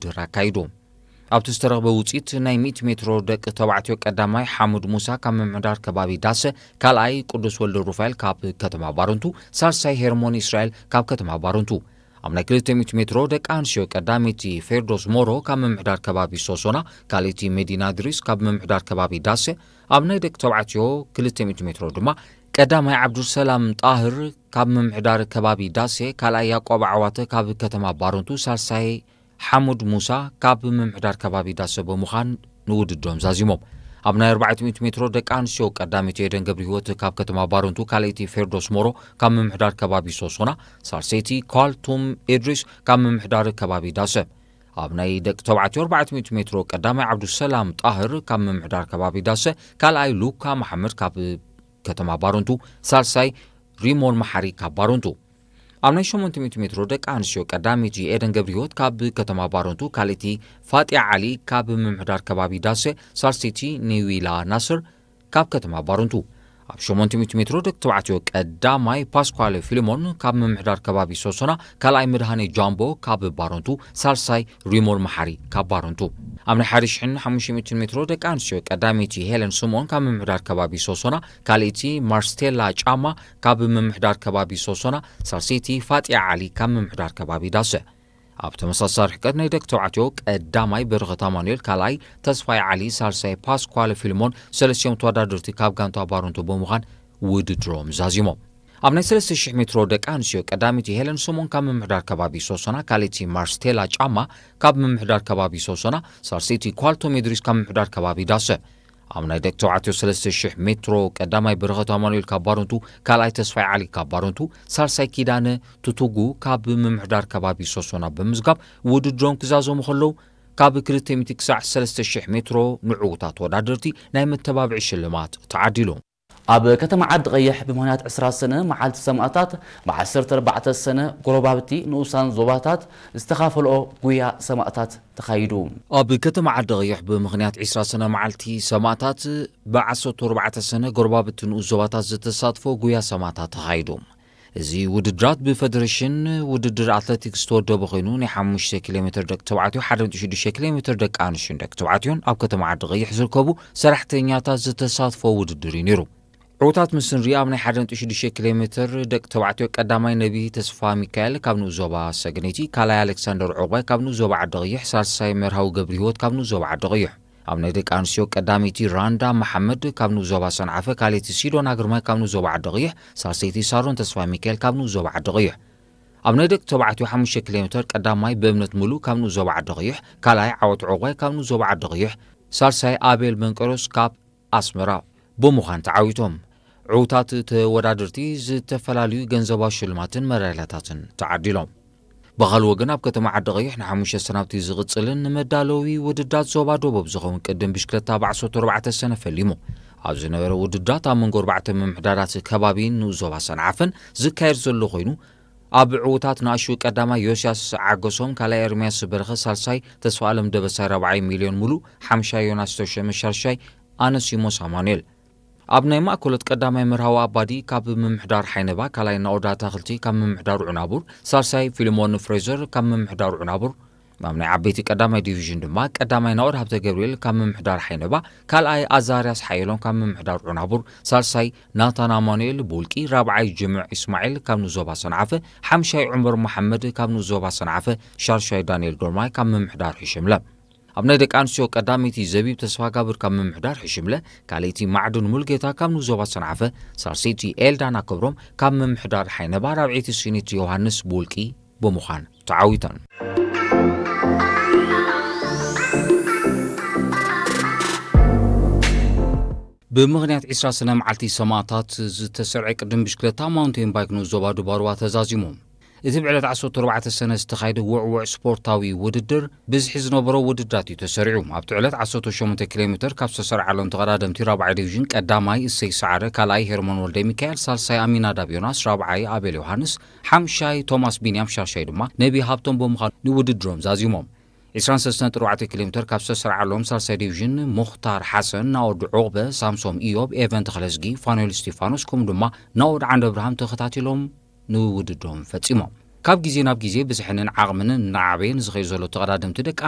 ውድድር ኣካይዱ። ኣብቲ ዝተረኽበ ውፅኢት ናይ ሚእቲ ሜትሮ ደቂ ተባዕትዮ ቀዳማይ ሓሙድ ሙሳ ካብ ምምሕዳር ከባቢ ዳሰ፣ ካልኣይ ቅዱስ ወልደ ሩፋኤል ካብ ከተማ ባረንቱ፣ ሳልሳይ ሄርሞን እስራኤል ካብ ከተማ ባረንቱ። ኣብ ናይ ክልተ ሚእቲ ሜትሮ ደቂ ኣንስትዮ ቀዳመይቲ ፌርዶስ ሞሮ ካብ ምምሕዳር ከባቢ ሶሶና፣ ካልኣይቲ መዲና ድሪስ ካብ ምምሕዳር ከባቢ ዳሰ፣ ኣብ ናይ ደቂ ተባዕትዮ ክልተ ሚእቲ ሜትሮ ድማ ቀዳማይ ዓብዱልሰላም ጣህር ካብ ምምሕዳር ከባቢ ዳሴ፣ ካልኣይ ያቆብ ዓዋተ ካብ ከተማ ባረንቱ፣ ሳልሳይ ሓሙድ ሙሳ ካብ ምምሕዳር ከባቢ ዳሰ ብምዃን ንውድድሮም ዛዚሞም። ኣብ ናይ ኣርባዕተ ሚእቲ ሜትሮ ደቂ ኣንስትዮ ቀዳመይቲ ኤደን ገብረ ህይወት ካብ ከተማ ባረንቱ፣ ካልኣይቲ ፌርዶስ ሞሮ ካብ ምምሕዳር ከባቢ ሶሶና፣ ሳልሰይቲ ኳልቱም ኢድሪስ ካብ ምምሕዳር ከባቢ ዳሰ። ኣብ ናይ ደቂ ተባዕትዮ ኣርባዕተ ሚእቲ ሜትሮ ቀዳማይ ዓብዱሰላም ጣህር ካብ ምምሕዳር ከባቢ ዳሰ፣ ካልኣይ ሉካ መሓመድ ካብ ከተማ ባረንቱ፣ ሳልሳይ ሪሞን መሓሪ ካብ ባረንቱ። ኣብ ናይ ሸሞንተ ሚእቲ ሜትሮ ደቂ ኣንስትዮ ቀዳመይቲ ኤደን ገብረ ህይወት ካብ ከተማ ባረንቱ፣ ካልኣይቲ ፋጢያ ዓሊ ካብ ምምሕዳር ከባቢ ዳሰ፣ ሳልሰይቲ ኒዊላ ናስር ካብ ከተማ ባረንቱ። ኣብ ሸሞንተ ሚእቲ ሜትሮ ደቂ ተባዕትዮ ቀዳማይ ፓስኳለ ፊልሞን ካብ ምምሕዳር ከባቢ ሶሶና፣ ካልኣይ መድሃኔ ጃምቦ ካብ ባረንቱ፣ ሳልሳይ ሪሞን መሓሪ ካብ ባረንቱ። ኣብ ናይ ሓደ ሽሕን ሓሙሽተ ሚእትን ሜትሮ ደቂ ኣንስትዮ ቀዳመይቲ ሄለን ስምኦን ካብ ምምሕዳር ከባቢ ሶሶና፣ ካልኣይቲ ማርስቴላ ጫማ ካብ ምምሕዳር ከባቢ ሶሶና፣ ሳልሰይቲ ፋጢያ ዓሊ ካብ ምምሕዳር ከባቢ ዳሰ። ኣብ ተመሳሳሊ ርሕቀት ናይ ደቂ ተባዕትዮ ቀዳማይ በረኸት ኣማኑኤል፣ ካልኣይ ተስፋይ ዓሊ፣ ሳልሳይ ፓስኳለ ፊልሞን፣ ሰለስቲኦም ተወዳደርቲ ካብ ጋንታ ባረንቱ ብምዃን ውድድሮም ዛዚሞም። ኣብ ናይ ሰለስተ ሽሕ ሜትሮ ደቂ ኣንስትዮ ቀዳመይቲ ሄለን ሶሞን ካብ ምምሕዳር ከባቢ ሶሶና፣ ካልኣይቲ ማርስቴላ ጫማ ካብ ምምሕዳር ከባቢ ሶሶና፣ ሳልሰይቲ ኳልቶም ኢድሪስ ካብ ምምሕዳር ከባቢ ዳሰ። ኣብ ናይ ደቂ ተባዕትዮ ሰለስተ ሽሕ ሜትሮ ቀዳማይ በረኸት ኣማኑኤል ካብ ባረንቱ፣ ካልኣይ ተስፋይ ዓሊ ካብ ባረንቱ፣ ሳልሳይ ኪዳነ ቱቱጉ ካብ ምምሕዳር ከባቢ ሶሶና ብምዝጋብ ውድድሮም ክዛዘሙ ከለዉ፣ ካብ ክልተ ሚእቲ ክሳዕ ሰለስተ ሽሕ ሜትሮ ንዕዉታት ተወዳደርቲ ናይ መተባብዒ ሽልማት ተዓዲሉ። ኣብ ከተማ ዓዲ ቀይሕ ብምኽንያት ዕስራ ሰነ መዓልቲ ሰማእታት፣ ብ ዓሰርተ ኣርባዕተ ሰነ ጎረባብቲ ንኡሳን ዞባታት ዝተኻፈልኦ ጉያ ሰማእታት ተኻይዱ። ኣብ ከተማ ዓዲ ቀይሕ ብምኽንያት ዕስራ ሰነ መዓልቲ ሰማእታት፣ ብ ዓሰርተ ኣርባዕተ ሰነ ጎረባብቲ ንኡስ ዞባታት ዝተሳትፎ ጉያ ሰማእታት ተኻይዱ። እዚ ውድድራት ብፈደሬሽን ውድድር ኣትሌቲክስ ዝተወደበ ኮይኑ፣ ናይ ሓሙሽተ ኪሎ ሜትር ደቂ ተባዕትዮ፣ ሓደ ነጥቢ ሽዱሽተ ኪሎ ሜትር ደቂ ኣንስትዮን ደቂ ተባዕትዮን ኣብ ከተማ ዓዲ ቀይሕ ዝርከቡ ሰራሕተኛታት ዝተሳትፎ ውድድር እዩ ነይሩ። ዕዉታት ምስ ንርኢ፣ ኣብ ናይ ሓደ ነጥቢ ሽዱሽተ ኪሎ ሜትር ደቂ ተባዕትዮ ቀዳማይ ነቢይ ተስፋ ሚካኤል ካብ ንኡስ ዞባ ሰገነይቲ፣ ካልኣይ ኣሌክሳንደር ዑቕባይ ካብ ንኡስ ዞባ ዓዲ ቀይሕ፣ ሳልሳይ መርሃዊ ገብረ ህይወት ካብ ንኡስ ዞባ ዓዲ ቀይሕ። ኣብ ናይ ደቂ ኣንስትዮ ቀዳመይቲ ራንዳ መሓመድ ካብ ንኡስ ዞባ ሰንዓፈ፣ ካልኣይቲ ሲዶና ግርማይ ካብ ንኡስ ዞባ ዓዲ ቀይሕ፣ ሳልሰይቲ ሳሮን ተስፋ ሚካኤል ካብ ንኡስ ዞባ ዓዲ ቀይሕ። ኣብ ናይ ደቂ ተባዕትዮ ሓሙሽተ ኪሎ ሜትር ቀዳማይ ብእምነት ሙሉ ካብ ንኡስ ዞባ ዓዲ ቀይሕ፣ ካልኣይ ዓወት ዑቕባይ ካብ ንኡስ ዞባ ዓዲ ቀይሕ፣ ሳልሳይ ኣቤል መንቀሮስ ካብ ኣስመራ ብምዃን ተዓዊቶም። ዕዉታት ተወዳደርቲ ዝተፈላለዩ ገንዘባዊ ሽልማትን መዳልያታትን ተዓዲሎም። ብኻልእ ወገን፣ ኣብ ከተማ ዓዲ ቀይሕ ንሓሙሽተ ሰናብቲ ዝቕጽልን ንመዳለዊ ውድድራት ዞባ ደቡብ ዝኸውን ቅድም ብሽክለታ ብ ዓሰርተ ኣርባዕተ ሰነ ፈሊሙ። ኣብ ዝነበረ ውድድራት ኣብ መንጎ ኣርባዕተ ምምሕዳራት ከባቢን ንኡስ ዞባ ሰንዓፈን ዝካየድ ዘሎ ኮይኑ፣ ኣብ ዕዉታት ንኣሽቱ ቀዳማይ ዮስያስ ዓገሶም፣ ካልኣይ ኤርምያስ በረኸ፣ ሳልሳይ ተስፋ ኣለም ደበሳይ፣ ራብዓይ ሚልዮን ሙሉ፣ ሓምሻይ ዮናስ ተሾመ፣ ሻርሻይ ኣነሲሞስ ኣማኑኤል። ኣብ ናይ ማእከሎት ቀዳማይ መርሃዊ ኣባዲ ካብ ምምሕዳር ሓይነባ፣ ካልኣይ ናኦድ ኣታኽልቲ ካብ ምምሕዳር ዑናቡር፣ ሳልሳይ ፊልሞን ፍሬዘር ካብ ምምሕዳር ዑናቡር፣ ኣብ ናይ ዓበይቲ ቀዳማይ ዲቪዥን ድማ ቀዳማይ ናኦድ ሃብተ ገብርኤል ካብ ምምሕዳር ሓይነባ፣ ካልኣይ ኣዛርያስ ሓየሎም ካብ ምምሕዳር ዑናቡር፣ ሳልሳይ ናታን ኣማኑኤል ቡልቂ፣ ራብዓይ ጅምዕ ኢስማዒል ካብ ንኡስ ዞባ ሰንዓፈ፣ ሓምሻይ ዑመር መሓመድ ካብ ንኡስ ዞባ ሰንዓፈ፣ ሻርሻይ ዳንኤል ግርማይ ካብ ምምሕዳር ሕሽምለ። ኣብ ናይ ደቂ ኣንስትዮ ቀዳመይቲ ዘቢብ ተስፋጋብር ካብ ምምሕዳር ሕሽምለ፣ ካልኣይቲ ማዕድን ሙልጌታ ካብ ንኡስ ዞባ ሰንዓፈ፣ ሳልሰይቲ ኤልዳና ክብሮም ካብ ምምሕዳር ሓይነባ፣ ራብዐይቲ ሲኒት ዮሃንስ ቡልቂ ብምዃን ተዓዊተን። ብምኽንያት ዕስራ ሰነ መዓልቲ ሰማእታት ዝተሰርዐ ቅድም ብሽክለታ ማውንቴን ባይክ ንኡስ ዞባ ዱባርዋ ተዛዚሙ። እቲ ብዕለት ዓሰርተ ኣርባዕተ ሰነ ዝተኻየደ ውዕውዕ ስፖርታዊ ውድድር ብዝሒ ዝነበሮ ውድድራት እዩ ተሰሪዑ። ኣብቲ ዕለት ዓሰርተ ሸሞንተ ኪሎ ሜትር ካብ ዝተሰርዓሎም ተቐዳደምቲ ራብዓይ ዲቪዥን ቀዳማይ እሰይ ሰዓረ፣ ካልኣይ ሄርሞን ወልደ ሚካኤል፣ ሳልሳይ ኣሚናዳብ ዮናስ፣ ራብዓይ ኣቤል ዮሃንስ፣ ሓምሻይ ቶማስ ቢንያም፣ ሻርሻይ ድማ ነቢ ሃብቶም ብምዃን ንውድድሮም ዛዚሞም። ዕስራን ሰለስተን ነጥቢ ኣርባዕተ ኪሎ ሜትር ካብ ዝተሰርዓሎም ሳልሳይ ዲቪዥን ሙኽታር ሓሰን፣ ናኦድ ዑቕበ፣ ሳምሶም ኢዮብ፣ ኤቨን ተኽለዝጊ፣ ፋኑኤል እስቲፋኖስ ከምኡ ድማ ናኦድ ዓንደብርሃም ተኸታቲሎም ንውድድሮም ፈጺሞም። ካብ ግዜ ናብ ግዜ ብዝሕንን ዓቕምን እናዓበየ ንዝኸይድ ዘሎ ተቐዳደምቲ ደቂ